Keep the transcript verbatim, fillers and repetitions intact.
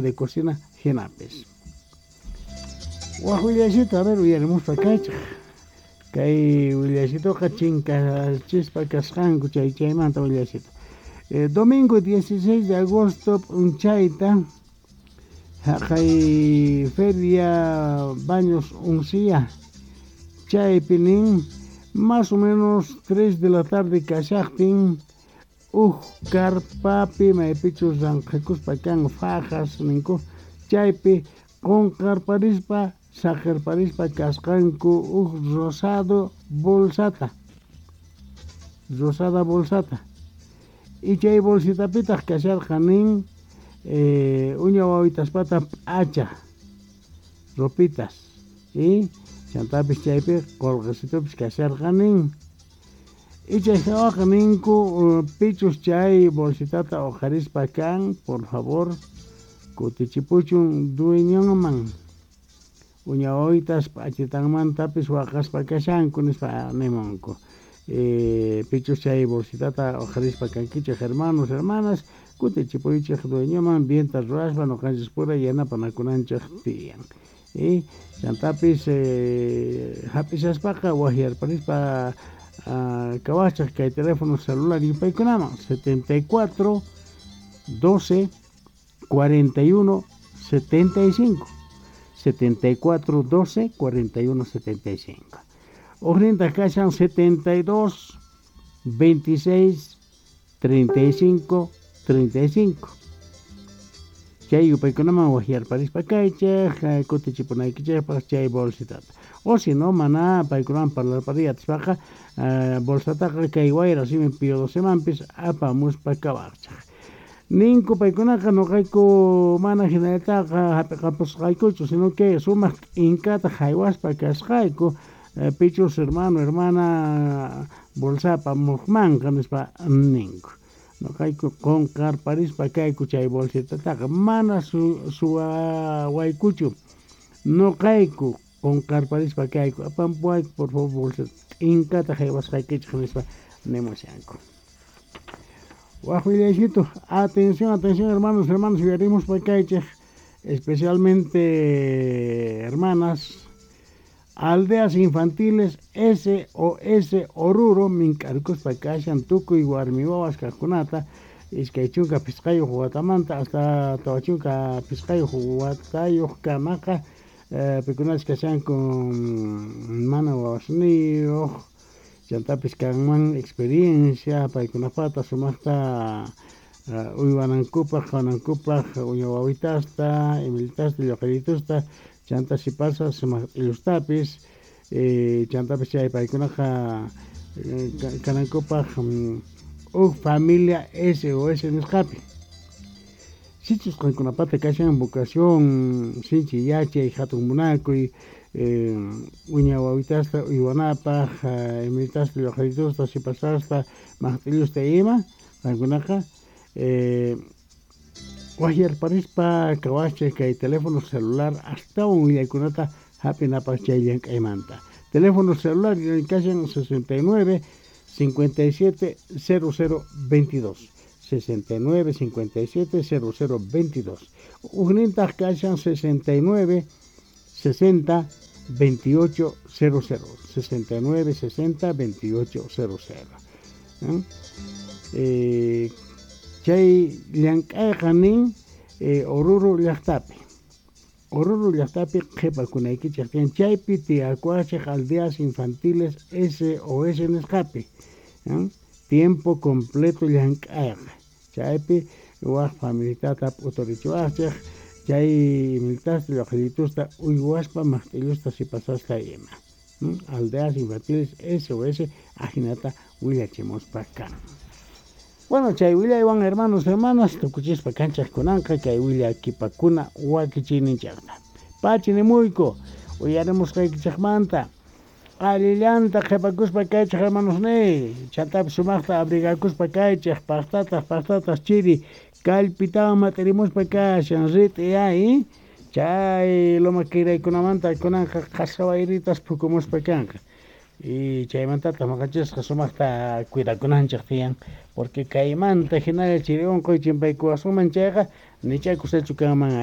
De cocina jinapis. Waj willaycito, a ver, uyarimuspa kaychej. Kay willaycitoqa chinkachispa kasqanku chay chaymanta willaycito. Eh, domingo dieciséis de agosto p'unchayta jaqay feria Baños Uncía chaypi nin más o menos tres de la tarde kashaqtin uj karpapi maypichus ranqhakuspa kan fajas ninku chaypi qunqarparispa saqirparispa kasqanku uj rosado bolsata rosada bolsata y chay bolsitapitaq kasharqa nin eh, uña wawitaspata p'acha ropitas y chantapis chaypi qolqesitupis kasharqa nin y chay hawaqa ninku pichus chay bolsitata uqharispa kan, por favor, kutichipuchun dueñonman, uña wawitas p'achitanmantapis waqaspa kashanku nispa nimunku. Eh, pichus chay bolsitata uqharispa kankichej, hermanos, hermanas, kutichipuychej dueñoman, bienta ruwaspa noqanchis pura yanapanakunanchej tiyan. Y chantapis eh, hap'ishaspaqa wajyarparispa uh, kawachaj kay teléfono celular yupaykunaman setenta y cuatro doce cuarenta y uno setenta y cinco, setenta y cuatro doce cuarenta y uno setenta y cinco. Ujnintaj kashan setenta y dos veintiséis treinta y cinco treinta y cinco. Chay yupaykunaman wajyarparispa kaychej kutichipunaykichejpaj chay bolsitata. O si no, mana paykunaman parlarpariy atispaqa bolsataqa kay Wayra Simi Pío Docemanpis apamuspa kawaqchej. Ninku paykunaqa noqayku mana hinallataqa hap'iqapusqaykuchu, sino que sumaq t'inkata haywaspa kasqayku pichus hermano, hermana bolsa apamuqmanqa nispa ninku. Noqayku qunqarparispa kayku chay bolsitataqa mana su suwawaykuchu noqayku qunqarparispa kayku, apampuwayku por favor bolsita t'inkata haywasqaykichej nispa nimushanku. Waj willaycito, atención, atención, hermanos, hermanas, uyarimuspa kaychej, especialmente hermanas, aldeas infantiles S O S Oruro mink'arkuspa kashan tukuy warmi wawas kaqkunata iskay chunka phisqayuq watamanta hasta tawa chunka phisqayuq watayuq kamaqa eh, pikunachus kashanku mana wawasniyuq chantapis kanman experiencia paykunapata sumaqta uh, uywanankupaq qhawanankupaq uña wawitasta, imillitasta, lluqallitusta chanta sipasas sumaq q'illustapis eh, chantapis chay paykunaqa eh, kanankupaq uj familia S O S nisqapi. Sichus qankunapata kashan vocación, sinchi yachay, hatun munakuy eh, uña wawitasta uywanapaq, imillitasta, lluqallitusta, sipasasta, maqt'illusta ima, qankunaqa eh, wajyarparispa kawachej kay teléfono celular astawan willaykunata hap'inapaq chay llank'aymanta. Teléfono celular kashan sesenta y nueve cincuenta y siete cero cero veintidós, sesenta y nueve cincuenta y siete cero cero veintidós. Ujnintaq kashan sesenta y nueve sesenta veintiocho cero cero, sesenta y nueve sesenta veintiocho cero cero. ¿Eh? Eh, chay llank'ayqa nin eh, Oruro llaqtapi. Oruro llaqtapi qhipakunaykichej tiyan chaypi tiyakuwachej aldeas infantiles S O S nisqapi. ¿Eh? Tiempo completo llank'ayqa. Chaypi waj familitata p'uturichiwaqchej chay imillitasta, lluqallitusta uywaspa maqt'illusta sipasasta ima. ¿Mm? Aldeas infantiles S O S ajinata willachimuspa kan. Bueno, chay willaywan, hermanos, hermanas, tukuchispa kanchaj kunanqa kay willakipakuna wakichiyninchaqta. Pachi nimuyku uyarimusqaykichaqmanta allillanta qhipakuspa kaychej, hermanos niy, chantapis sumaqta abrigakuspa kaychej, paqtataq paqtataq chiri kallpitawan mat'irimuspa kashan rit'i ay chay loma kiraykunamanta kunanqa qhasa wayritas phukumuspa kanqa y chaymantataq noqanchisqa sumaqta cuidakunanchik tiyan porque kaymanta hinalla chiri unquy chimpaykuwasunman chayqa nichá kusachu kanman.